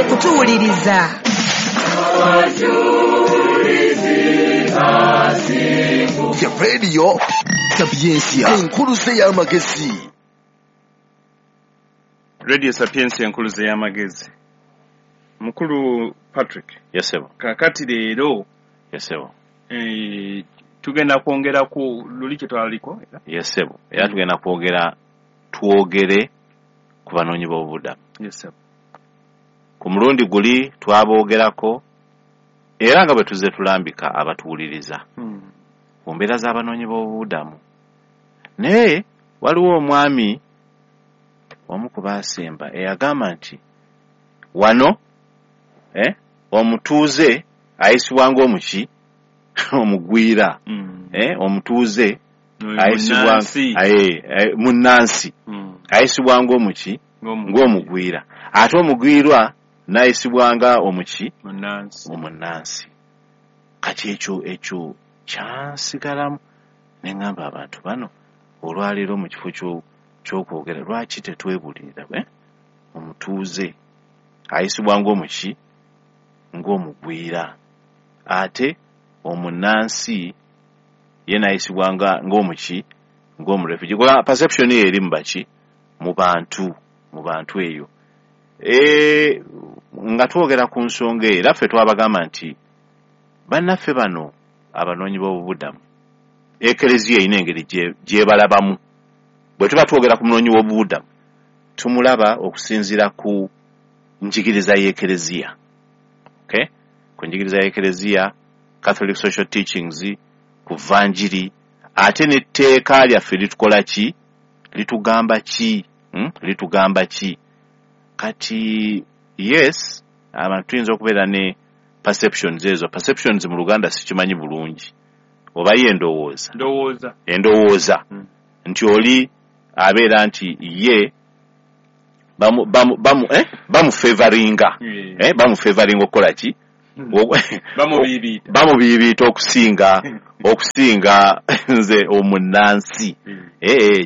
Mwebale kutuwuliriza. Ya Radio Sapientia, enkuluze y'amagezi. Radio Sapientia, enkuluze y'amagezi. Mukulu Patrick. Yes, sir. Kakati leero. Yes, sir. Tugenda kwongera ku luli kye twaliko. Yes, sir. Era tugenda kwogera twogere ku banoonyi b'obubudamu. Yes, sir. Ku mulundi guli twaboogerako era nga bwe tuzze tulambika abatuwuliriza ku mbeera z'abanoonyi b'obubudamu. Naye waliwo omwami omu ku baasemba eyagamba nti wano omutuuze ayisibwa ng'omuki omugwira, omutuuze ayisibwa munnansi ayisibwa ng'omuki ng'omugwira, ate omugwirwa n'ayisibwa nga omuki omunnansi. Kati ekyo kyansigalamu ne ŋŋamba abantu bano olwaleero mu kifo ky'okwogera lwaki tetwebulirira omutuuze ayisibwa ng'omuki ng'omugwira, ate omunnansi ye n'ayisibwa ng'omuki ng'omurefugee. Kuba perception eyo eri mu baki mu bantu eyo. Nga twogera ku nsonga eyo era ffe twabagamba nti bannaffe bano abanoonyi b'obubudamu Ekereziya erina engeri gyebalabamu. Bwe tuba twogera ku munoonyi w'obubudamu tumulaba okusinziira ku njigiriza y'Ekereziya. Okay? Ku njigiriza y'Ekereziya, Catholic Social Teachings, ku Vanjiri, ate n'etteeka lyaffe litukola ki? Litugamba ki? Litugamba ki? Kati yes, abantu tuyinza okubeera ne perceptions ezo. Perceptions mu Luganda sikimanyi bulungi. Oba ye endowooza. Endowooza. Nti oli abeera nti ye bamufavoringa. Bamufavoringa okukola ki? Bamubiibiita okusinga nze omunnansi.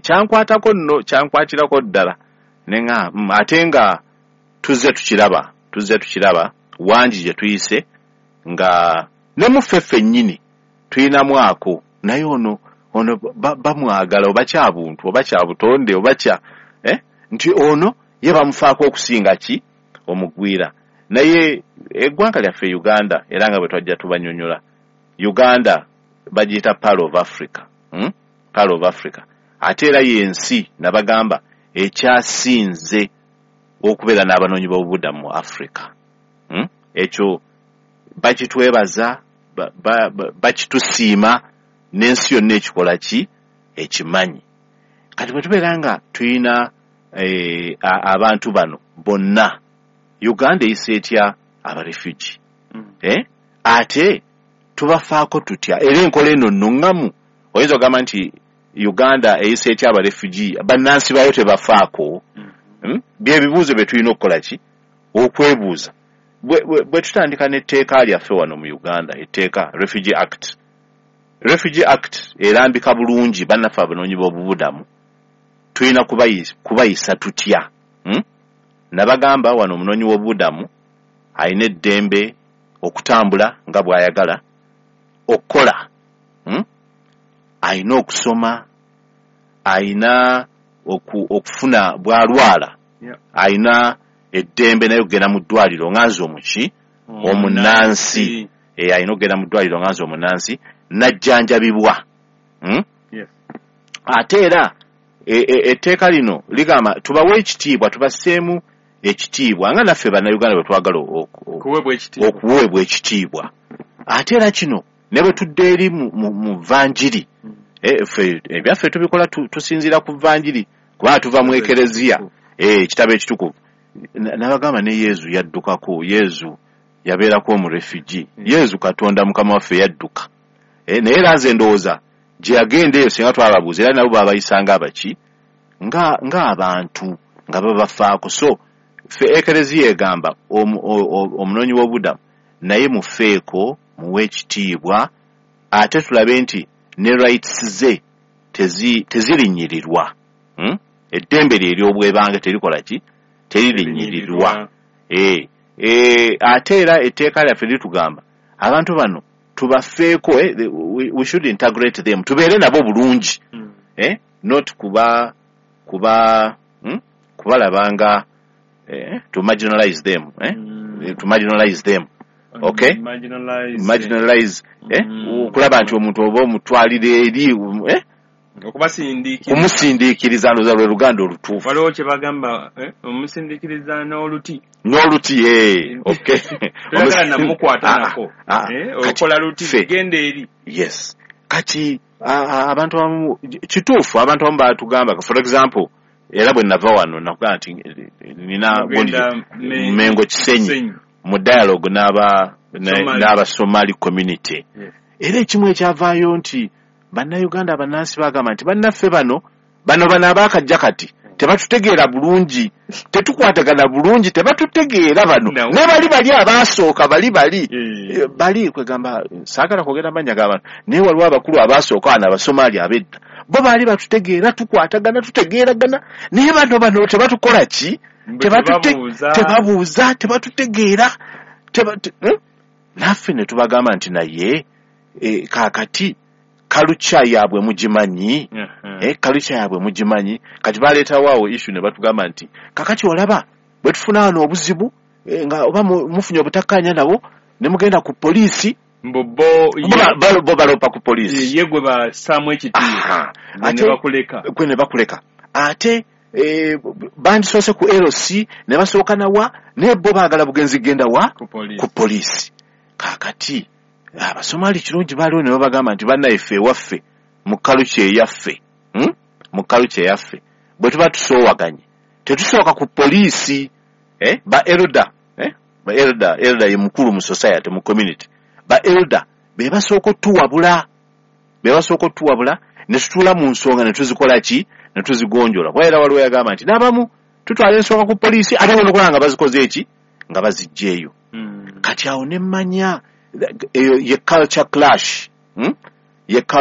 Kyankwatako nno, kyankwatirako ddala. Nenga ate nga tuzze tukiraba wangi gye tuyise nga ne mu ffe ffennyini tulinamu ako, naye ono bamwagala oba kya buntu oba kya butonde oba kya nti ono ye bamufaako okusinga ki omugwira. Naye eggwanga lyaffe Uganda, era nga bwe twajja tubanyonyola, Uganda bagiyita Pearl of Africa. Pearl of Africa. Ate era y'ensi nabagamba ekyasinze okubeera n'abanoonyi b'obubudamu mu Africa. Ekyo bakitwebaza, bakitusiima n'ensi yonna ekikola ki ekimanyi. Kati bwe tubeera nga tulina abantu bano bonna, Uganda eyisa etya abarefugi? Ate tubafaako tutya? Era enkola eno nnuŋŋamu. Oyinza okugamba nti Uganda eyisa etya abarefugi, bannansi baayo tebafaako? Bye bibuuzo bye tulina okukola ki? Okwebuuza. Bwe tutandika n'etteeka lyaffe wano mu Uganda, etteeka Refugee Act. Refugee Act erambika bulungi bannaffe abanoonyi b'obubudamu tulina kubayisa tutya. Nabagamba wano omunoonyi w'obubudamu alina eddembe okutambula nga bw'ayagala, okukola, alina okusoma, alina okufuna bw'alwala, alina eddembe naye okugenda mu ddwaliro nga nze omuki omunnansi. Alina okugenda mu ddwaliro nga nze omunnansi n'ajjanjabibwa. Ate era etteeka lino ligamba tubawe ekitiibwa, tubasseemu ekitiibwa nga naffe Bannayuganda bwe twagala okuweebwa ekitiibwa. Ate era kino ne bwe tudda eri mu Vanjiri, ffe ebyaffe tubikola tusinziira ku Vanjiri kubanga tuva mu Ekereziya, ekitabo ekitukuvu. Nabagamba ne Yezu yaddukako, Yezu yabeerako omurefugee, Yezu Katonda Mukama waffe yadduka. Naye era nze ndowooza gye yagenda eyo singa twababuuza era nabo baabayisanga abaki ng'abantu nga babafaako. So ffe Ekereziya egamba omunoonyi w'obubudamu naye mufeeko, muwe ekitiibwa, ate tulabe nti ne rights ze tezirinnyirirwa. Eddembe lye ery'obwebange terikola ki? Teririnnyirirwa. Ate era etteeka lyaffe litugamba abantu bano tubafeeko, we should integrate them, tubeere nabo bulungi, not kuba kuba kubalabanga, to marginalize them, to marginalize them, okay, marginalize, okulaba nti omuntu oba omutwalira eri, kumusindiikiriza, ndowooza lwe luganda olutuufu. Waliwo kye bagamba, omusindiikiriza n'oluti. N'oluti, okay. Toyagala namukwata nako, okola luti, genda eri. Yes. Kati abantu abamu, kituufu, abantu abamu batugamba, for example, era bwe nava wano nakugamba nti nina Mengo Kisenyi mu dialogue n'aba Somali community. Era ekimu ekyavaayo nti bannayuganda abannansi bagamba nti bannaffe bano abaakajja kati tebatutegeera bulungi, tetukwatagana bulungi, tebatutegeera bano, ne bali abaasooka bali kwegamba, saagala kwogera mannya g'abantu, naye waliwo abakulu abaasooka wano Abasomali ab'edda, bo baali batutegeera, tukwatagana, tutegeeragana, naye bano tebatukola ki, tebabuuza, tebatutegeera. Naffe ne tubagamba nti naye kaakati kalucha yaabwe mugimanyi, kalucha yaabwe mugimanyi. Kati baleetawo awo issue ne batugamba nti kakati olaba bwe tufuna wano obuzibu, nga oba mufunye obutakkaanya nabo ne mugenda ku poliisi, bo balopa ku poliisi, ye gwe bassaamu ekitiibwa gwe ne bakuleka. Ate bandisoose ku LC ne basooka nawa, naye bo baagala bugenzi genda wa ku poliisi. Kaakati Abasomali kirungi baaliwo ne babagamba nti bannayeffe ewaffe mu kalucha eyaffe, mu kalucha eyaffe bwe tuba tusoowaganye tetusooka ku poliisi. Ba elder, ba elder, elder ye mukulu mu society, mu community, ba elder be basooka otuwabula, ne tutuula mu nsonga ne tuzikola ki, ne tuzigonjola. Kuba era waliwo yagamba nti n'abamu tutwala ensonga ku poliisi, ate bona okulaba nga bazikoze eki, nga baziggyeeyo. Kati awo ne mmanya eyo ye culture clash, ye culture